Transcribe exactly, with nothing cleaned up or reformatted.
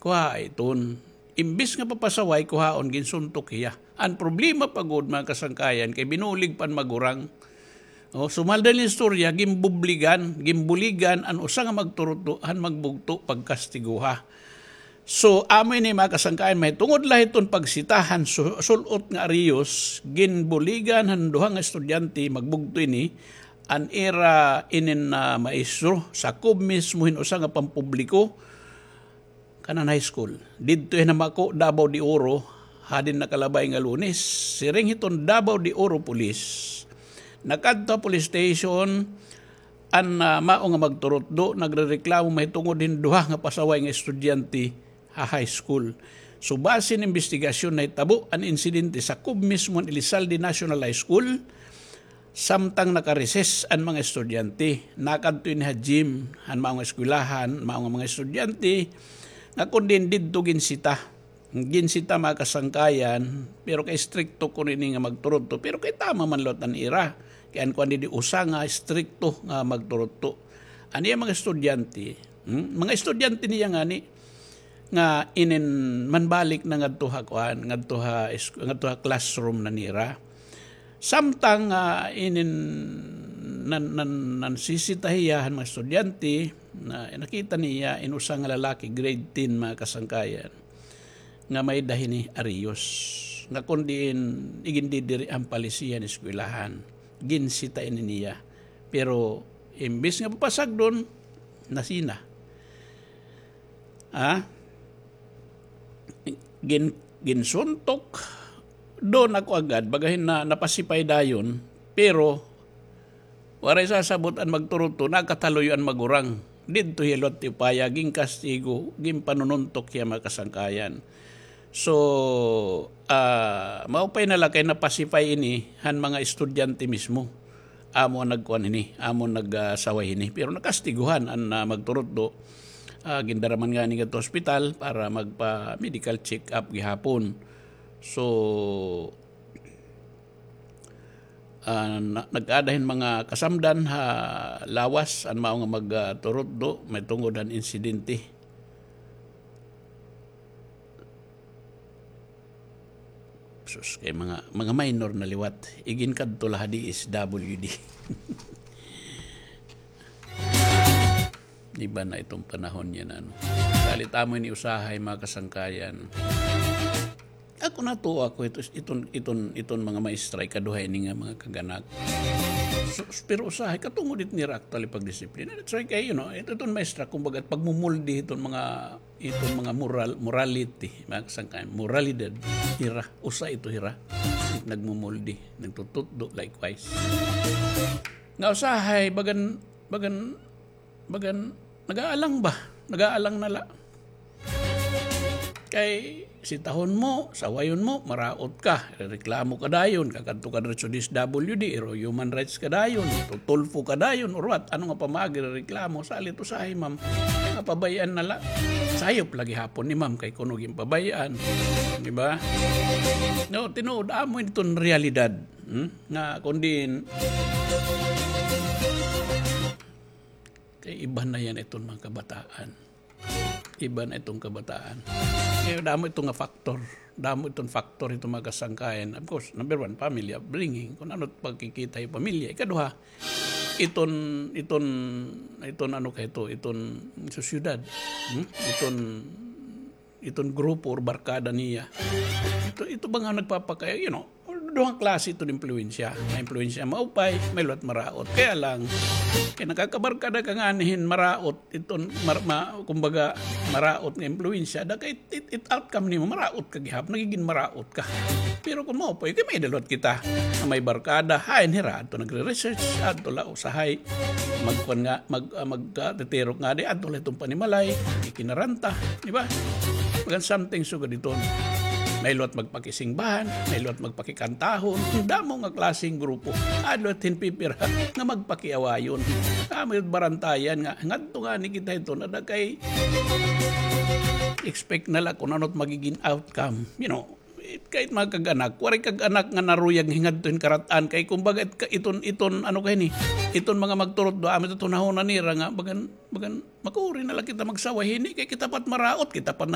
Wa iton. Imbis nga papasaway, kuhaon, ginsuntok hiya. An problema pa gud, mga kasangkayan, kay binulig pa an magurang. O, sumalda an istorya, ginbubligan, ginbuligan an usa nga magturutdo han magbugto pagkastiguha. So, amo ini, mga kasangkayan, mahitungod la hiton pagsita han su-, sul-ot nga ariyos, ginbuligan han duha nga estudyante, magbugto ini, an ira inin, ah, maestro, sakob mismo hin usa nga pampubliko, kanan high school. Didto hin Mako, Davao de Oro, hadin nakalabay nga Lunes. Siring hiton Davao de Oro Police, nakadto ha police station an, ah, mao nga magturutdo, nagrereklamo mahitungod hin duha nga pasaway nga estudyante ha high school. So, base hin imbestigasyon, nahitabo an insidente sakob mismo han Elizalde National High School. Samtang naka-recess an mga estudyante, nakadto ini ha gym han mao nga eskwelahan, mao nga mga estudyante, nga kon diin didto ginsita. Ginsita, mga kasangkayan, pero kay istrikto kuno ini nga magturutdo, pero kay tama man liwat an ira. Kay an kuan didi usa nga istrikto nga magturutdo. An iya mga estudyante, hmm? Mga estudyante niya ngani, nga inin manbalik na ngadto ha kuan, ngadto ha es-, ngadto ha classroom na nira. Samtang, ah, inin nan-, nan-, nansisita hiya han mga estudyante, na nakita niya in usa nga lalaki, grade ten, mga kasangkayan, nga may-ada hini ariyos, nga kon diin igindidiri han palisiya han eskwelahan. Ginsita ini niya. Pero imbis nga papasagdon, nasina. Ha? Gin-, ginsuntok. Doon ako agad, bagahin na napasipay dayon, pero waray sasabot an magturutdo, nakataluyo an magurang. Didto hiya liwat tiupaya, ginkastigo, ginpanununtok hiya, mga kasangkayan. So, ah, maupay na la kay napasipay ini han mga estudyante mismo. Amo an nagkuan hini, amo an nag-, ah, saway hini. Pero nakastiguhan an, ah, magturutdo. Ah, gindara man ngani ngadto ospital para magpa-medical check-up gihapon. So, ah, na-, nag-ada hin mga kasamdan ha lawas an mao nga mag-, ah, turutdo mahitungod han insidente. Sus, kay mga, mga minor na liwat. Iginkadto la ha D S W D. Iba na iton panahon yana, ano. Salit amo ini usahay, mga kasangkayan. Ako, natuo ako ito, iton, iton, iton mga maestra, ikaduha ini nga mga kag-anak. So, pero usahay, katungod it nira actually pagdisiplina. That's why kay, you know, ito, iton maestra, kumbaga, pagmumuldi iton mga iton mga moral, morality, mga kasangkayan, moralidad, hira, usa ito hira, nagmumuldi, nagtututdo, likewise. Nga usahay, bagan, bagan, bagan, nag-aalang ba? Nag-aalang na la. Kay, sitahon mo, sawayon mo, maraot ka. Reklamo ka dayon, kakadto ka diretso D S W D, iro human rights ka dayon, tutulfo ka dayon, or what? Ano nga pamaagi reklamo? Salit usahay, ma'am, nga pabay-an na la. Sayop la gihapon ni ma'am kay kuno ginpabay-an. Di ba? No, tinuod, amo iton realidad. Hmm? Nga, kun diin, kay iba na yana iton mga kabataan. Iba na iton kabataan. Kay damo ito nga factor. Damo iton factor ito mga kasangkayan. Of course, number one, family upbringing. Kun ano pagkikita ha pamilya. Ikaduha, iton, iton, iton ano ka ito, iton sosyedad. Hmm? Iton, iton grupo or barkada niya. Ito, ito ba nga nagpapaka-, you know, duha nga klase iton impluwensya. May impluwensya maupay, may liwat maraot. Kaya lang, kay nakakabarkada ka ngani hin maraot, iton mar-, ma-, kumbaga, maraot nga impluwensya, da kay it, it outcome nimo, maraot ka gihap, nagigin maraot ka. Pero kun maupay, kay may-ada liwat kita nga may barkada, hain hira, adto nagre-research, adto la usahay, magkuan nga, mag-, ah, mag-, ah, titirok ngadi, adto la iton panimalay, ikinaranta, di ba? Bagan something sugad iton. May liwat magpakisingbahan, may liwat magpakikantahon, damo nga klaseng grupo. Adto la hin pipira nga magpakiawayon. Amo it barantayan nga, ngadto ngani kita iton, ada kay expect na la kun ano it magigin outcome. You know, it, kahit mga kag-anak, waray kag-anak nga naruyag hingadto hin karat-an. Kay kumbaga, it, ka-, iton, iton, ano kay ni, iton mga magturutdo, amo it hunahuna nira nga, bagan, bagan, makuri na la kita magsaway hini, kay kita pa it maraot, kita pa it nan-